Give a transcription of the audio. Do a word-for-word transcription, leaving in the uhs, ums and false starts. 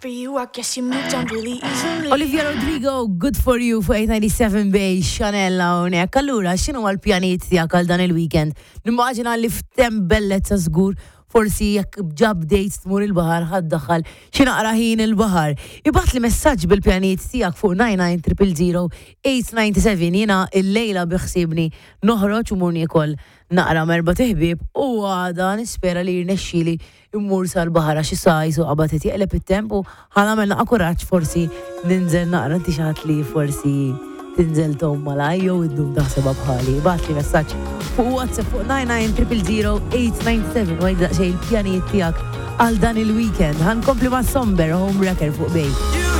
for you. I guess you moved on really easily. Olivia Rodrigo, Good For You fuq eight ninety-seven Bay, Chanel hawnhekk. Allura, x'inhu l-pjanijiet tiegħek għal dan il-weekend? Nimmaġina li f'temp bellezza żgur, forsi jekk ġa bdejt tmur il-baħar, ħa ddaħħal xi naqra ħin il-baħar. Ibgħatli messaġġ bil-pjanijiet tiegħek fuq nine nine zero zero eight nine seven. Jiena il-lejla biħsiebni noħroġ u mmur niekol naqra m'erbat iħbieb u għada nispera li jirnexxili immur sal-baħar għax issa jisu qabad jeqleb it-temp u ħa nagħmel naqra kuraġġ, forsi ninżel naqra. Inti xi ħadd li forsi tinżel tgħum malajr jew iddum taħsebha bħali? Ibgħatli messaġġ fuq WhatsApp fuq nine nine zero zero eight nine seven u għidli daqsxejn il-pjanijiet tiegħek għal dan il-weekend. Ħa nkompli ma' Somber, Homewrecker fuq Bay.